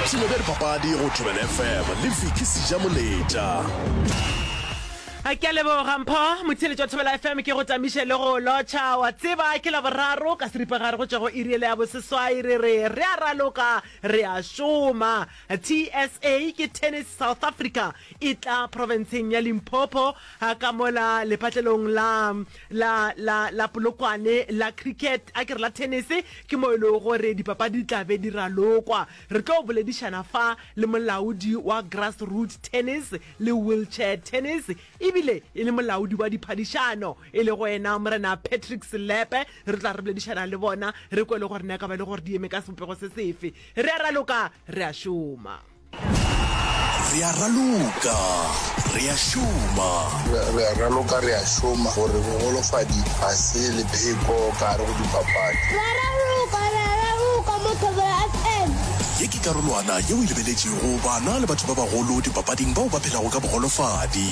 Boipshino bja dipapadi go Thobela FM le Vicky Sejamoletša. Ke a leboga Mpho, motheeletši wa Thobela FM, ke go tamiše le go lotšha. Wa tseba ke Laboraro ka seripagare go tšwa go iri yela ya boseswai, re re re a raloka, re a šoma. TSA ke Tennis South Africa e tla profenseng ya Limpopo ka mola lepatlelong la la la la Polokwane la cricket, a ke re la tennis, ke mo e lego gore dipapadi di tla be di ralokwa. Re tlo boledišana fa le molaodi wa Grassroot Tennis le Wheelchair Tennis ebile e le molaodi wa diphadišano e lego yena Morena Patrick Selepe. Re tla re boledišana le bona re kwe le gore na e ka ba e le gore di eme ka sebopego se sefe. Re a raloka, re a šoma. Re a raloka, re a šoma. Re a raloka, re a šoma gore bogolofadi ga se lepheko ka gare go dipapadi. Re a raloka, re a raloka mo Thobela FM. Ye ke karolwana yeo e lebeletšego bana le batho ba bagolo dipapading bao ba phelago ka bogolofadi.